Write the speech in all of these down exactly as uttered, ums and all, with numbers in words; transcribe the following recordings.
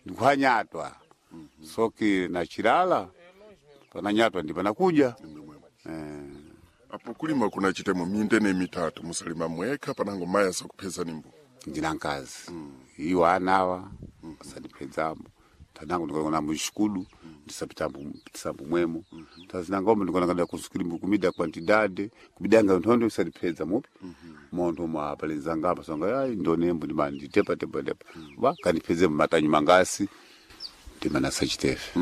Ndikuhanyatwa soki na chilala pananyatwa ndi panakuja eh. Apo kulima kunachitemo minde mitatu musalima mwekha panango mayi asakupeza nimbo. Ndina nkazi iwo anawa asandipedzamo tanangu ndikona muxikudu ndisapitambo ndisambo mwemo tazinangombe ndikona kada kusukilimbu kumida quantidade kumidanga nthondo isandipedza mupi montho mwa palenzangapa songa ai ndonembo ndima nditepa tepa tepa wa kandipedze matanyu mangasi ndimana sachitefe.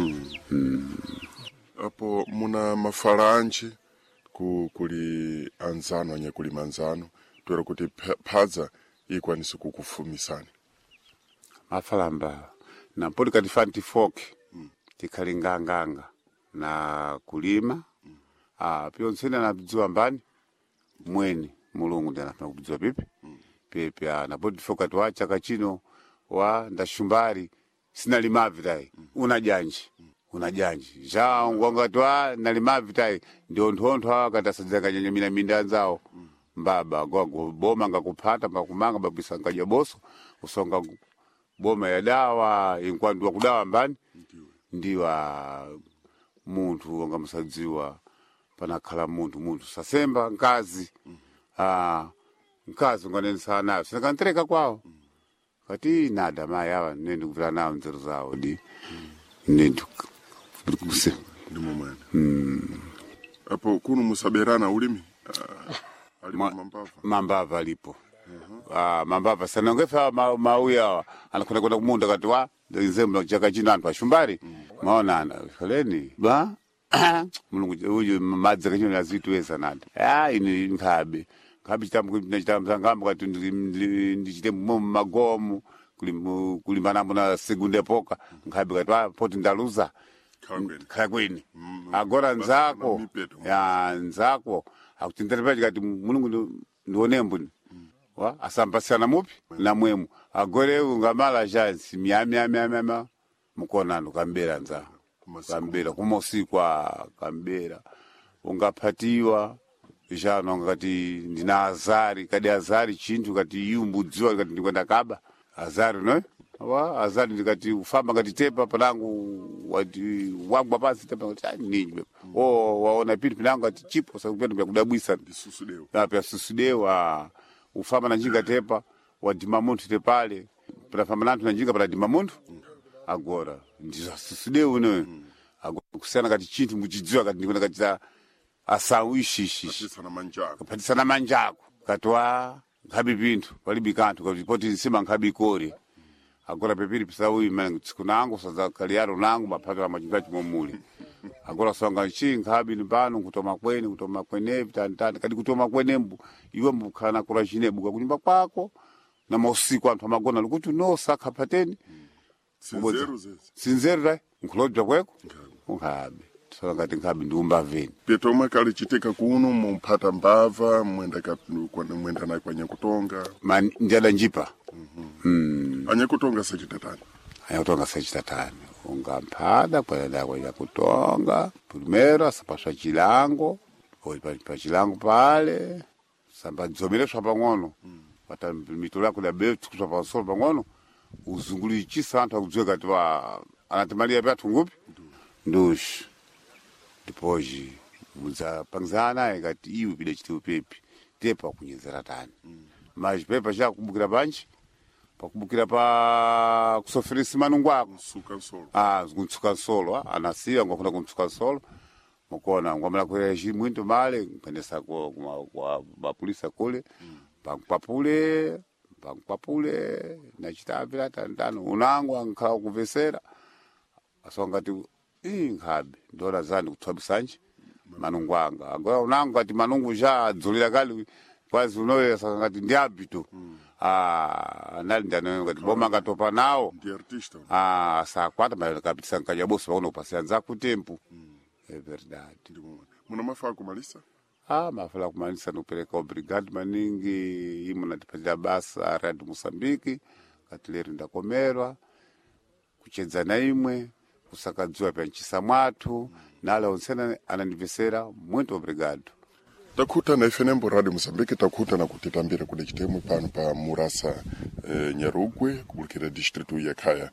Apo muna mafalanji ku, kuli anzano anyakulima anzano toera kuti pha- phadza ikwanise kukufumisani. Mafalamba nampoti katifani tifoke tikhali nganganga na kulima ah, pyontsene anadziwa mbani mwene mulungu ndi anafuna kudziwa pipi pipi ah, napoti tifoke kati wa chaka chino wa ndashumbari sinalimavi tayi una janji una janji ja ngwangati wa nalimavi tayi ndio nthontho awa kati asadzakanyanya mina minda anzawo mbaba gwago boma ngakuphata mbakumanga mbabwisa nkaja boso usonga boma ya dawa inkwandu wakudawa mbani ndiwa munthu wanga musadziwa panakhala munthu munthu sasemba nkazi ah, nkazi unganenesa nayo sinakantereka kwawo kati nada mayi awa nende kupita nawo nzeru zawo di nendikuse Ndimo mwene apo kuno musaberana ulimi. Ah, alipo Ma- mambava mambava alipo. Ah, mambava sanongefa ma, mauya awa anakwenda kwenda kumunda kati wa nzembo chaka chino anthu ashumbari maonana foleni ba mulungu uyu madzi kachino azituweza nada ah ini nkhabe nkhabe chitambo chitambo kati ndi- ndi- ndichite mu magomo kulimbana na segunda epoca nkhabe kati wa poti ndaluza. Khala kwene. Khala kwene agora nzako mipeto. ya nzako akutindiripa chikati mulungu ndi- ndionembo wa asambasana mupi na mwemu agore ungamala jansi myamyamyamyama mukonano kambera nza Kumasiku. kambera kumosiku ah, kambera ungaphatiwa jano ngati ndina azari kadi azari chinthu kati iyu mbudziwa kati ndikwenda kaba azari no wa azari ndikati ufamba ngati tepa panangu wati wagwa pasi tepa ngati "Ah, ninyi o waona pinthu pinangu ati chipo sakupenda pyakudabwisa Ndisusudewo. apya susudewa ufamba na njinga tepa wadima munthu tepale panafamba na anthu na njinga panadima munthu agora ndizasusudewu ne agora kusiyana kati chinthu muchidziwa kati ndikuona kati asawu ishishishi Patisana manjako. kaphatisana manjako kati wa nkhabi pinthu palibe kanthu kati poti nsima nkhabi ikore agora pepiri pisauyi mene tsiku nangu sadzakhaliyaro nangu maphatira machimba chimomuli agora songa nchi nkhabi ni pano nkutoma kweni kutoma kwenevi tanitani kati kutoma kwenembu iwe mbukhala nakula chinebuka kunyumba kwako na mausiku anthu amagona likuti no sakhaphateni Sinzeru zezi. sinzeru tai nkhulobya kweko nkhabe tisona ngati nkhabe ndiumbaveni. Pyeto omwe kali chitika kuno mumphata mbava mwenda ka- kwa- mwenda naye kwa nyakutonga. Ma njada njipa. Anyakutonga sachitatani. Anyakutonga sachitatani ungamphada kwayada kwayakutonga primero asapaswa chilango oi pa pa chilango pale sambadzomereswa pang'ono pata mitolo yako dabe kuswa pansolo pang'ono uzungulichisa anthu akudziwe kati wa anatimalia pyathu ngupi ndushi ndipoji mudzapangizana naye kati iwe pida chitiwe pepi tepa kunyezera tani machipepa chakubukira panchi pakubukira pa kusofirisi manungu ako. Msuka nsolo. Ah, kuntsuka nsolo ah, anasiya ngwakuna kuntsuka nsolo mukona ngwamala kulera chimwinto male nkuendesa kwa kwa- kwa mapulisa kule pankwapule pankwapule nachitapira tantano unango ankhala kumvesera asongati ii nkhabe ndola zani kuthwabisanje manungu anga agora unango ati manungu ja adzulira kali kwazi unoyesa ngati ndi abito ah anali ndanoyo ngati boma ngatopa nawo. Ndi artista. Ah, sakwata mas kapitisa nkajaboso pakuno kupasiyanza kutempo é verdade. Ndimo mwene muna mafaa kumalisa. Ah, mafala kumanisa nikupereka obrigado maningi imo natipatira basa radio Moçambique katileri ndakomerwa kuchedza na imwe kusakadziwa pya nchisa mwathu nale onsena anandipesera muito obrigado. Takhuta na ife nembo Radio Mozambique, takhuta na kutitambira kude chitemwe pano pa Murasa eh, Nyarugwe kubulikira distritu ya Khaya.